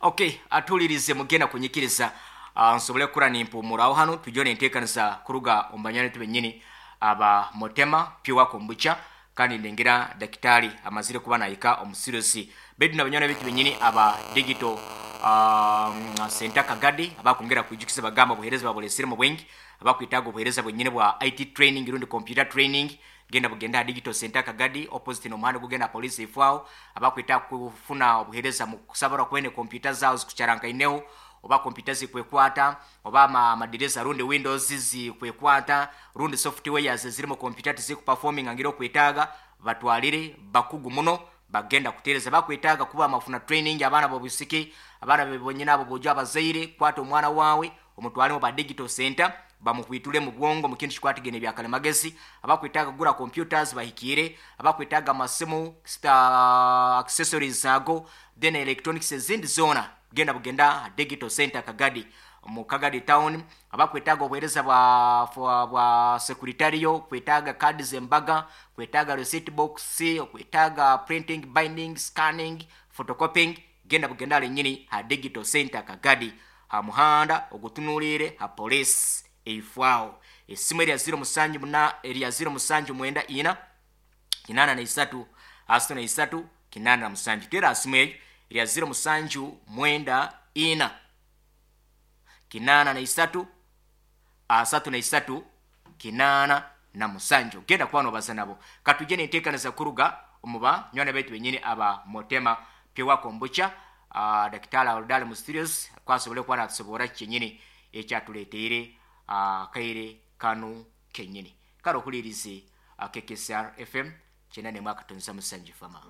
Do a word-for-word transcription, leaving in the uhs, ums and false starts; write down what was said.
Okay, atulirize mugenda kunyikiriza uh, nsobole kukura nimpumuraho hano tujye nenteekanisa kuruga omu banywani benyini aba Motema Pure Kombucha, kandi ndengera dakitari amazire kuba nahika omusirosi betu na banywani betu benyini aba Digital um, Center Kagadi abakongera kwijukiza bagamba obuheereza babulesire mu bwingi. Abakwitaga obuheereza bwenyini bwa I T training rundi computer training, genda bugenda Digital Center Kagadi, opposite n'omuhanda gugenda police ifwaho. Abakwita kufuna obuheereza mu kusabara kwene computer zawo zikucarankaineho, oba kompyuta zikwekwata, oba ama- amadirisa rundi Windows zikwekwata, rundi softwares ziri mu kompyuta tizikuperforminga ngira okwetaaga, batwalire bakugu muno bagenda kutereza. Bakwetaaga kuba amafuna training abaana bobusiki, abaana bebonyina abo bojo, abazaire kwata omwana wawe omutwale mu ba Digital Center bamuhwitule mu bwongo mu kintu kikwatagene byakalimagezi. Abakwetaaga kugura computers bahikire, abakwetaaga amasimu, sta- accessories ago, then electronics ezindi zona, genda bugenda Digital Center Kagadi, mu Kagadi Town. Abakwetaaga obuheereza bwa, bwa, bwa secretarial, kwetaaga kadi zembaga, kwetaaga receipt box, kwetaaga printing, binding, scanning, photocopying, genda bugenda lenyini ha Digital Center Kagadi, ha muhanda ogutunuulire ha police eifwaho. Esimu erya ziro musanju muna, erya ziro musanju mwenda ina kinana na isatu asatu na isatu kinana na musanju. Tera simu eyo erya ziro musanju mwenda ina kinana na isatu asatu na isatu kinana na musanju. Genda kuba nobaza nabo. Katujje nenteekaniza kuruga omu banywani baitu benyini aba Motema Pure Kombucha. uh, dakitari aludale mu studios kwasobole kuba natusobora kyenyini ekyatuleteire uh, kaire kanu kenyini. Kale okulirize uh, K K S R F M kyenda nemwaka tonza musanju fama.